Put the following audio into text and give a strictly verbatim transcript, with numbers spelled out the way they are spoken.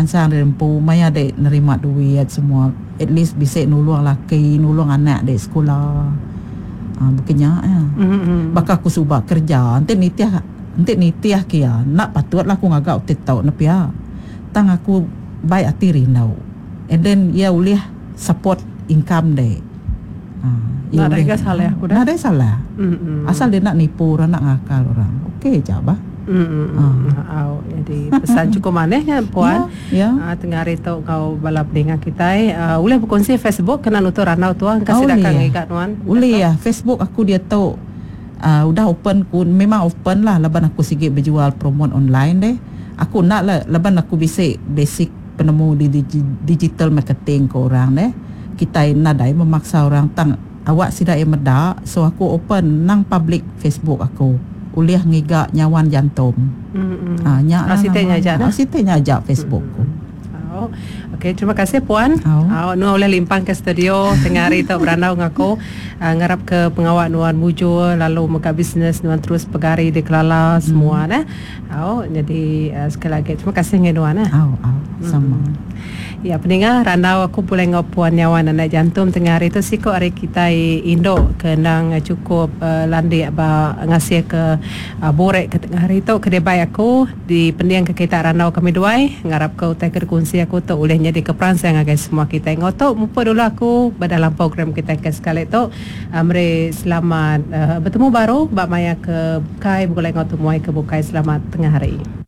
meransang diri empu maya dek nerima duit semua at least bisi nulung laki nulung anak dek sekula. Uh, bukannya ya. Mm-hmm. Baka aku suba kerja enti nitih enti nitih ke iya nak patutlah aku ngaga TikTok ne pia. Tang aku baik hati rindu. And then ia ulih support income dek. Uh, Nah, ada salah aku dah. Nah, ada salah. Mm-hmm. Asal dia nak nipu orang, nak ngakal orang. Okey je bah. Mm-hmm. Ah. Oh, jadi pesan cukup manehnya puan. Ya. Ah, tengah hari tu kau bala pendengar kita uh, boleh berkongsi Facebook kena nutur ranau tuan kasih Oh, dakang boleh. ikat tuan. Boleh ya, Facebook aku dia tu uh, udah open ku memang open lah laban aku sikit berjual promote online deh. Aku nak lah laban aku basic basic penemu di digi, digital marketing ke orang deh. Kita nadai memaksa orang tang awak sidak yang medak, so aku open nang public Facebook aku. Ulih ngiga nyawan jantung. Mm-hmm. Ah, nyak lah Ah, siti nama. nya ajak Ah, siti nya ajak Facebook ku. Oh, okey, terima kasih puan. Oh. Oh, nu oleh limpang ke studio tengah hari tu berandau ngaku. Uh, ngarap ke pengawak nuan mujur lalu muka bisnes nuan terus pegari di Kelala semua nah. Oh, jadi uh, sekali lagi terima kasih ngai nuan nah. Au, au, sama. Ya, pendengar randau aku boleh ngau puan nyawan anak jantung tengah hari tu siko hari kita induk kenang cukup uh, landik ba ngasih ke uh, borek ke tengah hari tu kedai baik aku di pendiang ke kita randau kami duai ngarap ke utai ke kunci aku tu oleh jadi ke perangsang agai semua kita ngau tu mupa dulu aku dalam program kita ke sekali tu uh, meri selamat uh, bertemu baru bak maya ke bukai boleh ngau tu muai ke bukai selamat tengah hari.